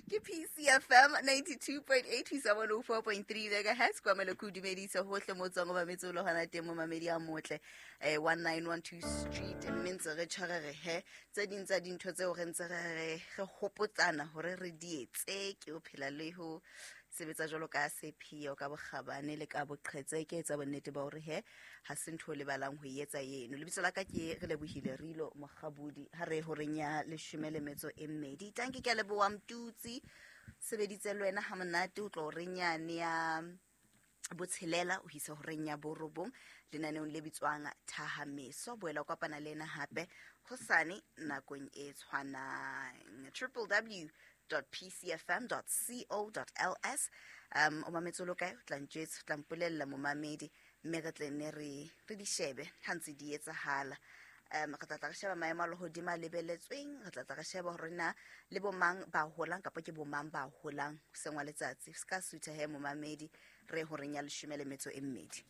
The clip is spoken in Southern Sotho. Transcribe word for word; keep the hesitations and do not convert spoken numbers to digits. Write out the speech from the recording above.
Ke P C F M ninety-two point eight ho isa one oh four point three megahertz. Kwa mele ke o dumedise hohle mo tswang o mametse o le hona teng, momamedi a motle. eh nineteen twelve Street, mme ntse re tshware re he tse ding tsa dintho tseo re ntse re re re hopotsana hore re di etse ke ho phela le ho sebetsa jwalo ka sepheo, ka bokgabane le ka boqhetseke. Etsa bonnete ba hore he ha se ntho o lebalang ho e etsa eno. Lebitso la ka ke Re Lebohile Rilo Mokgabudi. Ha re horeng ya leshome le metso e mmedi. Tanki, ke a leboha. Mtutsi sebeditse le wena ha monate o tlo horeng yane ya botshelela ho isa horeng ya borobong lenaneong le bitswang Thahameso. Boela o kopana le ena hape hosane nakong e tshwanang. W W W dot P C F M dot co dot L S. um o mametse o lo kae? O tla ntjwetsa, o tla mpolella, momamedi, mme re tle nne re re di shebe ha ntse di etsahala. um re tla tla re sheba maemo a lehodimo a lebeletsweng, re tla tla re sheba hore na le bomang ba holang kapa ke bomang ba holang hoseng wa letsatsi. Se ka sutha he, momamedi. Re horeng ya leshome le metso e mmedi.